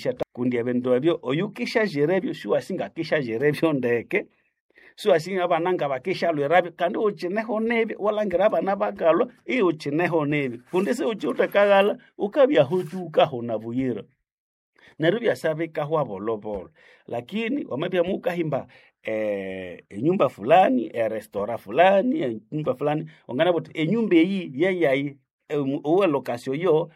Siwanganarisha kundi ebindu ebyo oyukishazirebyo siwasingakishazirebyo ndeke, siwasinga abana ngabakishalwirabyo kandi ukineho nibi, walangira abana bakalwa iukineho nibi kundi siukiwuthe ukabya aho ukahona buyira. Neryo ibyasa bikahwa bolhobolho. Lakini wamabya mukahimba enyumba fulani, erestora fulani, enyumba fulani, wanganabugha wuthi enyumba eyi yeyayi owe location yo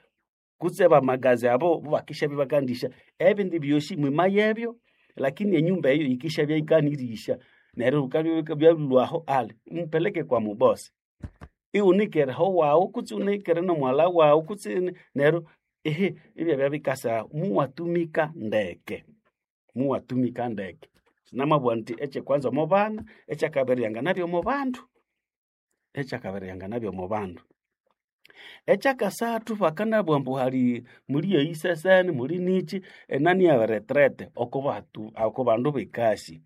kutse abamagazi abo bobakishabya bakandisya ebindi byosi mwimayebyo lakini enyumba eyo yikishabya yikanirisya. Neryo bukabya byalhwaho ali mupeleke kwa mubosi. Iwunikere aho wawu kutse iwunikere nomughalha wawu kutse neryo ehe ibyabya bikasa muwatumika ndeke, muwatumika ndeke. Namabugha indi ekyekwanza omo bana, ekyakabiri yanganabya omo bandu, ekyakabiri yanganabya omo bandu. Ekyakasathu bakanabugha ambu hali muli eyiseseni muli niki enani ya retraite oko batu oko bandu bekasi.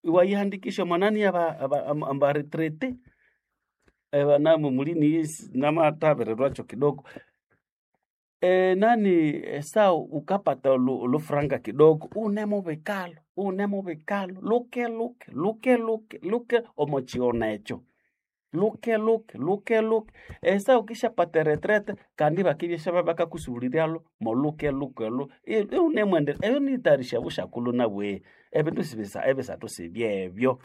Iwayihandikisya omwa nani aba retraite ebanamu muli namathabirirwakyo kidogo. Enani esaha wukapata olhufuranga kidogo iwunemubikalo, iwunemubikalo luke luke luke luke luke omo kighona ekyo. Luke luke luke luke esaha wukishapata eretraite kandi ibakibya bakakusubuliryalho moluke luke olho iwunemwendelea. Eyo niyitayarisya obusyakulhu nabwe. Ebindu sibisa ebisathu sibyebyo,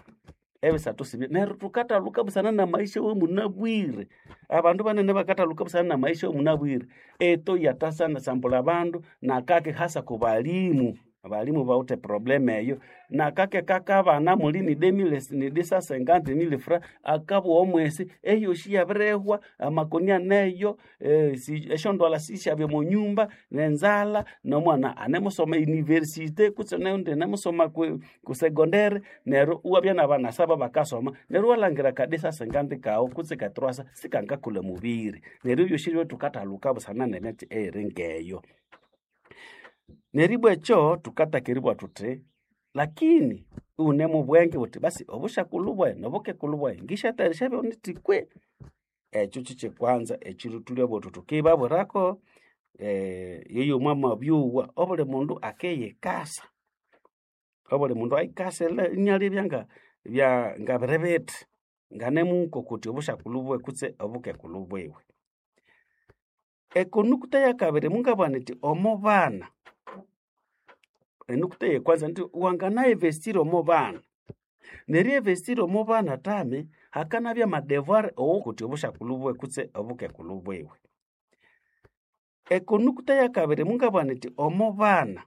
ebisathu sibye neryo thukathalhuka busana namaisha awamunabwire. Abandu banene bakathalhuka busana namaisha awamunabwire. Eto yathasana sambulha abandu nakake hasa kubalimu, abalimu bawithe problem eyo. Nakake kakabana muli ni demile ni dix cent cinquante mille francs akabugha omwesi eyosi iyabirihwa, amakoni aneyo, esyondwalha sisyabya omo nyumba, nenzalha, nomwana anemusoma e university kutse neyundi anemusoma ku secondary neryo iwabya nabana saba bakasoma neryo iwalhangira aka dix cent cinquante kawu kutse ka trois cents sikangakolha omubiri. Neryo ebyosi ebyo thukathalhuka busana nemyatsi eyiri ngeyo. Neribwa ekyo thukataka eribugha thuthi lakini iwune mubwenge wuthi basi obusyakulhu bwayi nobukekulhu bwayi ngisyatayarisya nyithya kwe. Ekyo kyekyekwanza ekiro thulyabuwa thuthi thukibabwirako yoyo mwamabyowa obuli mundu akiyikasa, obuli mundu ayikase inalebya ngabiri bithi nganemukokotya obusyakulhu bwiwe kutse obukekulhu bwiwe. Ekonukta yakabiri mungabugha nyithi omo bana, enukta eyekwanza indi wangana investira omo bana, neri investira omo bana thami hakanabya amadevoir owokotya obusyakulhu bwiwe kutse obukekulhu bwiwe. Ekonukta yakabiri mungabugha nyithi omo bana,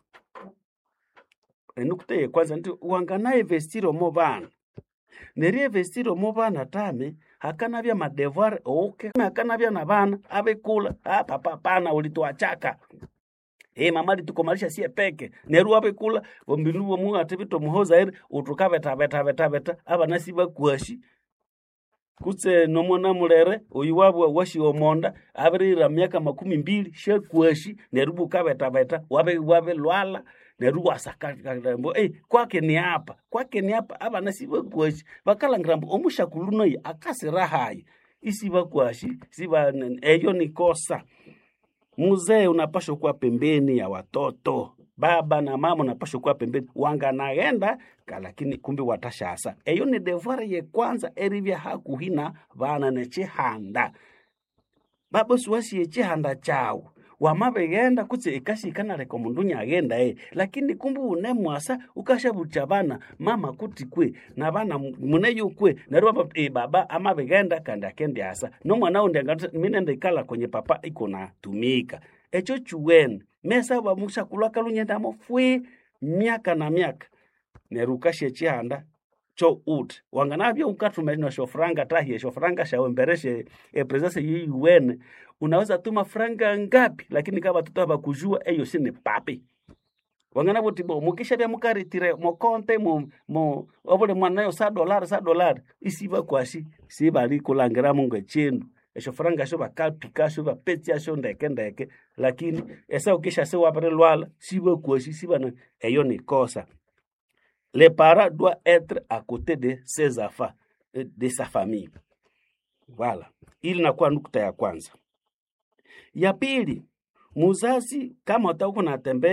enukta eyekwanza indi wangana investira omo bana, neri investira omo bana thami hakanabya amadevoir hakanabya nabana abikulha, papa hapana ulituachaka, mama alitukomalisha siye peke, neryo iwabikulha ombinu bwomuwathibitha omuhozaire wuthi wukabetha betha betha betha abana sibakwasi kutse nomwana mulere oyu wabugha wasiwa omonda abirihira myaka makumi mbili syakwasi neryo ibwa wukabethabetha wabilhwalha neryo iwasaka ambu kwaki ni hapa, kwaki ni hapa abana sibakwasi bakalhangira ambu omusyakulhu nayi akasira hayi isibakwasi siba eyo ni kosa. Muzee unapashwa kuwa pembeni ya watoto, baba na mama unapashwa kuwa pembeni, wanganaghenda lakini kumbi watasyasa. Eyo ni devoir yekwanza eribya hakuhi na bana nekyihanda. Baba siwasi ekyihanda kyawu, wamabighenda kutse ekasi yikanaleka omundu inyaghenda lakini kumbi wunemwasa wukasyabuthya abana mama kuti kwe nabana muneyo kwe neryo ibabugha baba amabighenda kandi akendiasa nomwana wundi angathi minende ikalha kwenye papa ikunatumika. Ekyo kyuwene mesaba omusyakulhu akalhwa inyaghenda fwi myaka na myaka neryo wukasya ekyihanda kyo wuthi wanganabya wukathuma nesyofuranga thahi esyofuranga syawu embere sye epresence eyuwene unaweza tuma franga ngapi lakini kama batoto habakujua eyosi ni papi. Wanganabugha wuthi bo mukishabya mukaretire omokonte obuli mwana yo sa dolari sa dolari isibakwasi sibalikulhangiramu ngekyindu. Esyofuranga esyo bakapikasyo ibapetsyasyo ndeke ndeke lakini esaha wukishyasa iwabirilhwalha sibakwasi sibana eyo ni kosa. Le parent doit être à côté de ses enfants de sa famille. Voilà. Ili inakuwa nukta ya kwanza. Ya pili, muzazi kama utakuwa unatembea